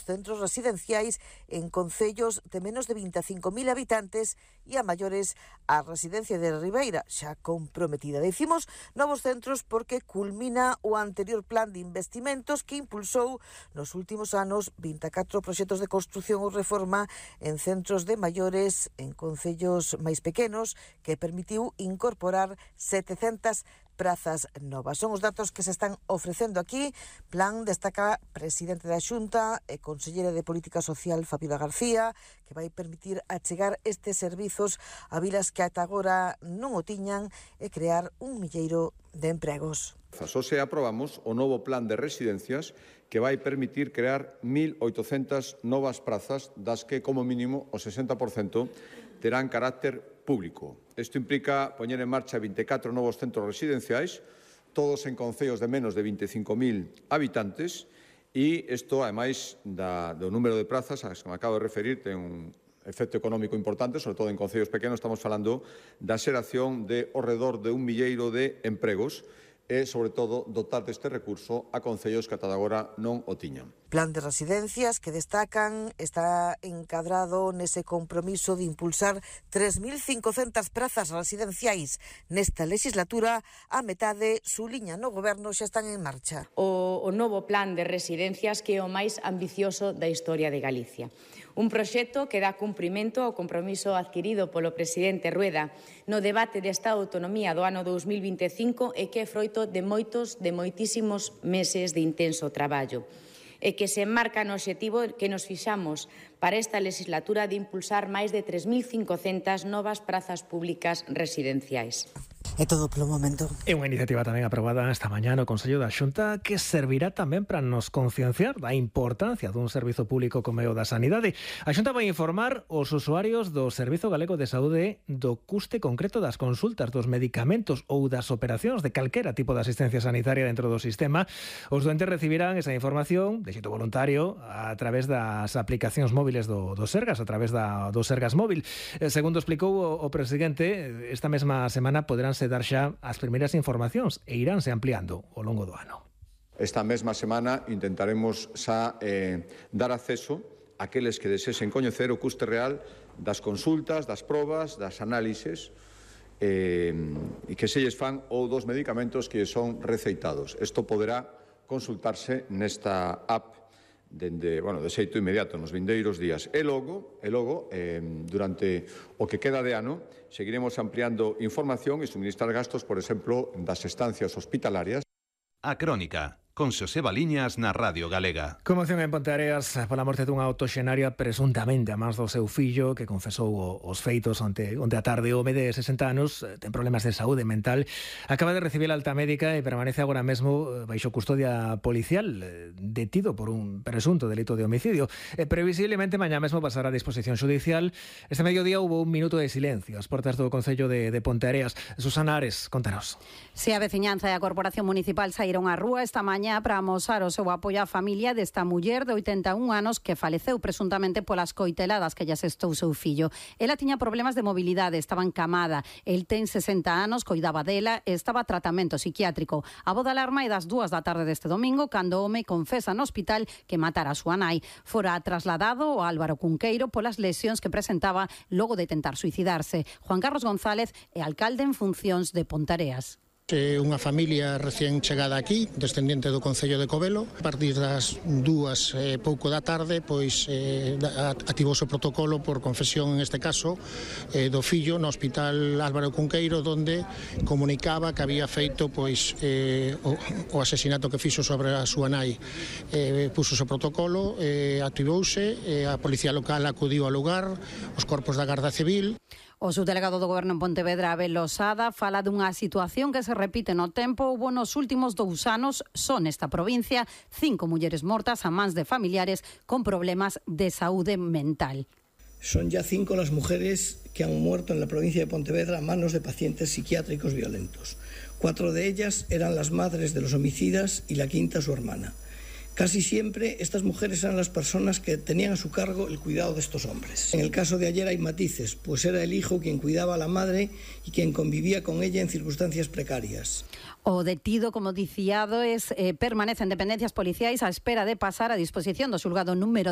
centros residenciais en concellos de menos de 25.000 habitantes e a maiores a residencia de Ribeira, xa comprometida. Decimos novos centros porque culmina o anterior plan de investimentos que impulsou nos últimos anos 24 proxectos de construción ou reforma en centros de maiores en concellos máis pequenos que permitiu incorporar 700 prazas novas. Son os datos que se están ofrecendo aquí. Plan destaca presidente da Xunta e consellera de Política Social Fabiola García, que vai permitir achegar estes servizos a vilas que ata agora non o tiñan e crear un milleiro de empregos. Hoxe aprobamos o novo plan de residencias que vai permitir crear 1.800 novas prazas, das que, como mínimo, o 60% terán carácter público. Isto implica poñer en marcha 24 novos centros residenciais, todos en concellos de menos de 25.000 habitantes, e isto, ademais do número de prazas, as que me acabo de referir, ten un efecto económico importante, sobre todo en concellos pequenos. Estamos falando da xeración de ao redor de 1 milleiro de empregos, e, sobre todo, dotar deste recurso a concellos que ata agora non o tiñan. Plan de residencias que destacan está encadrado nese compromiso de impulsar 3.500 prazas residenciais nesta legislatura. A metade suliña no goberno xa están en marcha. O novo plan de residencias que é o máis ambicioso da historia de Galicia. Un proxecto que dá cumprimento ao compromiso adquirido polo presidente Rueda no debate desta autonomía do ano 2025 e que é froito de moitísimos meses de intenso traballo e que se enmarca no obxectivo que nos fixamos para esta legislatura de impulsar máis de 3.500 novas prazas públicas residenciais. É todo polo momento. É unha iniciativa tamén aprobada esta mañá no Consello da Xunta que servirá tamén para nos concienciar da importancia dun servizo público como é o da sanidade. A Xunta vai informar os usuarios do Servizo Galego de Saúde do custe concreto das consultas, dos medicamentos ou das operacións de calquera tipo de asistencia sanitaria dentro do sistema. Os doentes recibirán esa información de xeito voluntario a través das aplicacións móviles do Sergas, a través do Sergas Móvil. Segundo explicou o presidente, esta mesma semana poderánse dar xa as primeiras informacións e iránse ampliando ao longo do ano. Esta mesma semana intentaremos xa dar acceso àqueles que desexen coñecer o custe real das consultas, das probas, das análises e que se lles fan ou dos medicamentos que son receitados. Isto poderá consultarse nesta app de xeito inmediato nos vindeiros días. E logo, durante o que queda de ano, seguiremos ampliando información e suministrar gastos, por exemplo, das estancias hospitalarias. A Crónica, con Xosé Baliñas na Radio Galega. Conmoción en Ponteareas pola morte dunha autoxenaria presuntamente a mans do seu fillo que confesou os feitos onte a tarde. O home de 60 anos ten problemas de saúde mental, acaba de recibir a alta médica e permanece agora mesmo baixo custodia policial, detido por un presunto delito de homicidio. Previsiblemente mañá mesmo pasará a disposición judicial. Este mediodía hubo un minuto de silencio ás portas do Concello de Ponteareas. Susana Ares, contanos. Se a veciñanza e a Corporación Municipal saíron á rúa esta mañá para amosar o seu apoio á familia desta muller de 81 anos que faleceu presuntamente polas coiteladas que lle asestou seu fillo. Ela tiña problemas de mobilidade, estaba encamada. El ten 60 anos, coidaba dela e estaba a tratamento psiquiátrico. A voz de alarma é das 2 da tarde deste domingo cando o home confesa no hospital que matara a súa nai. Fora trasladado ao Álvaro Cunqueiro polas lesións que presentaba logo de tentar suicidarse. Juan Carlos González é alcalde en funcións de Ponteareas. Unha familia recién chegada aquí, descendente do Concello de Covelo. A partir das 2 pouco da tarde, pois activouse o protocolo por confesión, en este caso, do fillo no Hospital Álvaro Cunqueiro, donde comunicaba que había feito pois o asesinato que fixo sobre a súa nai. Puxose o protocolo, activouse, a Policía Local acudiu ao lugar, os corpos da Garda Civil. O subdelegado do Goberno en Pontevedra, Abel Losada, fala dunha situación que se repite no tempo. Houbo nos últimos 2 anos, só nesta provincia, 5 mulleres mortas a mans de familiares con problemas de saúde mental. Son ya 5 las mujeres que han muerto en la provincia de Pontevedra a manos de pacientes psiquiátricos violentos. 4 de ellas eran las madres de los homicidas y la 5ª su hermana. Casi siempre estas mujeres eran las personas que tenían a su cargo el cuidado de estos hombres. En el caso de ayer hay matices, pues era el hijo quien cuidaba a la madre y quien convivía con ella en circunstancias precarias. O detido, como diciado, permanece en dependencias policiais á espera de pasar a disposición do xulgado número